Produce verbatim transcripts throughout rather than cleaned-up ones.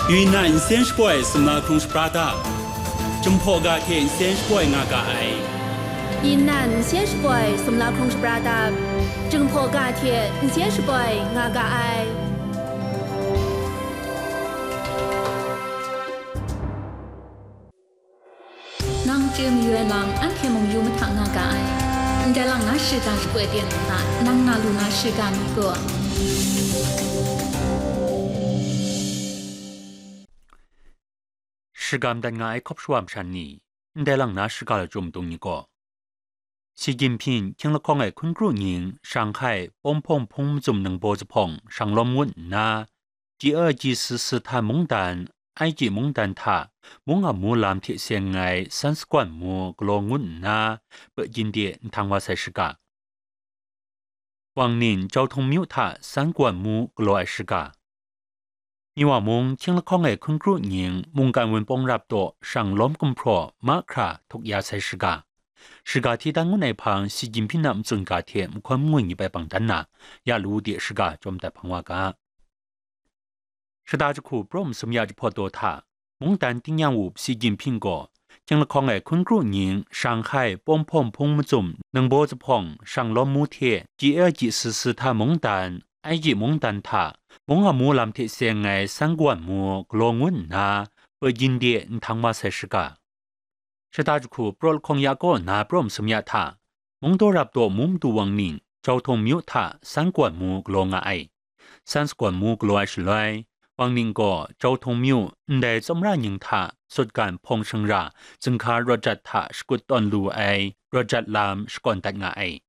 Yunnan nsen shapoi sumla hkrung shapra dap, Jinghpaw ga hte nsen shapoi nga ga ai. Yunnan nsen shapoi sumla hkrung shapra dap, Jinghpaw ga hte nsen shapoi nga ga ai. Nang chye mayu ai lam, anhte mung yu mahta nga ga ai. Ndai lang na shiga shapoi ten nna, nang nga lu na shiga mi gaw, shagam dat nga ai hkawp shawa masha ni, ndai lang na shiga lachyum dung ni gaw, Xi Jinping hkying lahkawng ai hkun kru nying Shanghai pawng hpawng hpung mazum ningbaw zuphpawng shanglawm ngut nna, G二级十四 mungdan, I G mungdan hta mung a mu lam hte seng ai san sagwan mu galaw ngut nna, Pekyin de nhtang wa sai shiga. Wang Ning Jauhtong myu hta san sagwan mu galaw ai shiga. Miwa mung hkying lahkawng ai hkun kru nying mungkan wunpawng rap daw shanglawm gumhpraw mahkra htuk ya sai shiga. Shiga hti dan ngut ai hpang Xi Jinping a matsun ga hte mahkawn mangwi ni bai bang dan na, ya lu de shiga chyawm dat hpang wa ga. Shata jahku praw masum ya jahpawt daw hta, mungdan tingnyang wup Xi Jinping gaw, hkying lahkawng ai hkun kru nying Shanghai pawng hpawng hpung mazum ningbaw zuphpawng shanglawm mu hte G二级十四 mungdan, I G mungdan hta mung a mu lam hte seng ai san sagwan mu galaw ngut nna, Pekyin de nhtang wa sai shiga. Shata jahku praw lahkawng ya kaw na praw masum ya hta, mungdaw rap daw mu madu Wang Ning Jauhtong myu hta san sagwan mu galaw nga ai. San sagwan mu galaw ai shaloi, Wang Ning gaw Jauhtong myu ndai tsawmra nying hta sutgan hpawng shangra zinghka rawt jat hta shakut tawn lu ai rawt jat lam shakawn dat nga ai.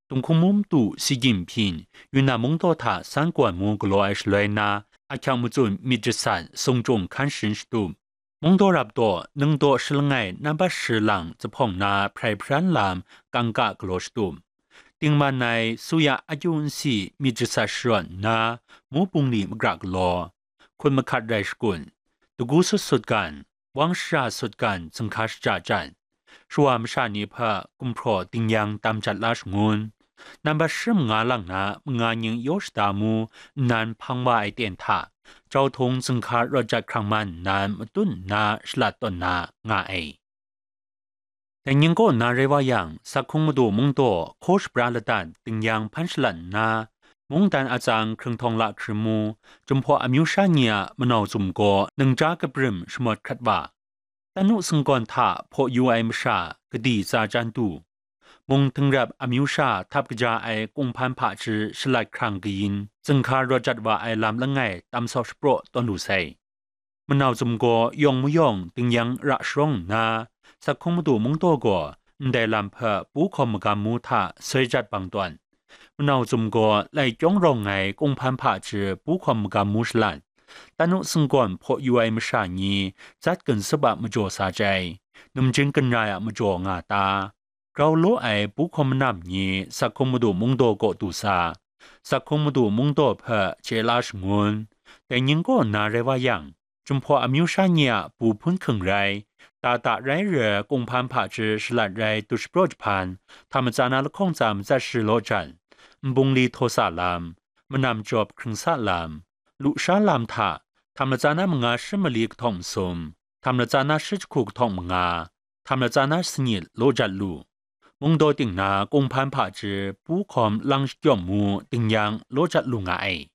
Tunghkung mu madu Xi Jinping Yunnan mungdaw hta san sagwan mu galaw ai shaloi na, ahkyang matsun myit jasat sung chyung hkan sharin shatup, mungdaw rap daw ningdaw shi langai nambat shi lang zuphpawng na hprai hparan lam kangka galaw shatup, tingman ai suya akyu nsi myit jasat sharawt nna, mu bungli magra galaw, hkun mahkat rai shakun, dagu sut sutgan, wang shara sutgan zinghka shaja jan, shawa masha ni hpe gumhpraw dingyang tam jat la shangun, nambat shi manga lang na manga nying yaw shada mu nnan hpang wa ai ten hta, Jauhtong zinghka rawt jat hkrang man nnan matun nna shalat tawn na nga ai. Dai nying kaw na rai wa yang, Sakhung madu mungdaw hkaw shapra ladat dingyang hpan shalat nna, mungdan atsang hkrung htawng lahkrim mu, Jinghpaw amyu sha ni a manau zum gaw ningja kabrim shamawt hkrat wa, tanu singgawn hta hpaw yu ai masha gadi tsa chyan du, mung htingrap amyu sha htap kaja ai kunghpan hpaji shalat hkrang kayin, zinghka rawt jat wa ai lam langai tam sau shapraw tawn lu sai. Manau zum gaw yawng mayawng dingyang ra sharawng nna, Sakhung madu mungdaw gaw ndai lam hpe pu hkawm magam mu hta soi jat bang tawn. Manau zum gaw lai kyawng rawng ai kunghpan hpaji pu hkawm magam mu shalat, tanu singgawn hpaw yu ai masha ni zat ginsup a majaw sa jai, numjin ginrai a majaw nga ta, grau law ai pu hkawm manam ni Sakhung madu mungdaw kaw du sa, Sakhung madu mungdaw hpe chye la shangun. Dai nying kaw na rai wa yang, Jinghpaw amyu sha ni a pu hpun hking rai, tata rai re kunghpan hpaji shalat rai du shapraw jahpan, hta matsa na lahkawng tsa matsat shi law jan, nbungli htaw sa lam, manam jawp hkring sa lam, lusha lam hta, hta matsa na manga shi mali kahtawng masum, hta matsa na shi jahku kahtawng manga, hta matsa na sanyit law jat lu. Mungdaw ting na kunghpan hpaji pu hkawm lang shakyawm mu dingyang law jat lu nga ai.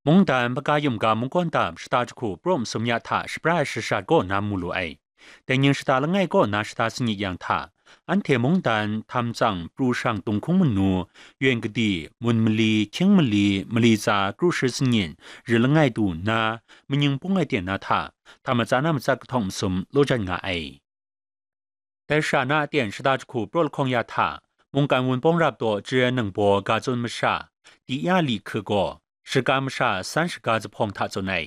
Mungdan Hpaga Yum ga mungkawn dap shata jahku praw masum ya hta shapra ai shashat kaw na mu lu ai. Dai nying shata langai kaw na shata sanyit yang hta, anhte mungdan htam tsang pru shang dunghkung manu, yen kadi, mun mali, hkying mali, mali tsa kru shi sanyit, ri langai du nna, manying pung ai ten na hta, hta matsa na matsat kahtawng masum law jan nga ai. Dai shara na aten shata jahku praw lahkawng ya hta, mungkan wunpawng rap daw Jire ningbaw ga tsun masha, Di Ya Li Hke gaw, shaga masha san shaga zuphpawng hta tsun ai.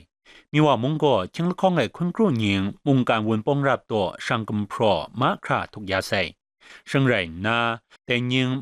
Miwa mung gaw hkying lahkawng ai hkun kru nying mungkan wunpawng rap daw shang gumhpraw mahkra htuk ya sai. Shing rai nna, dai nying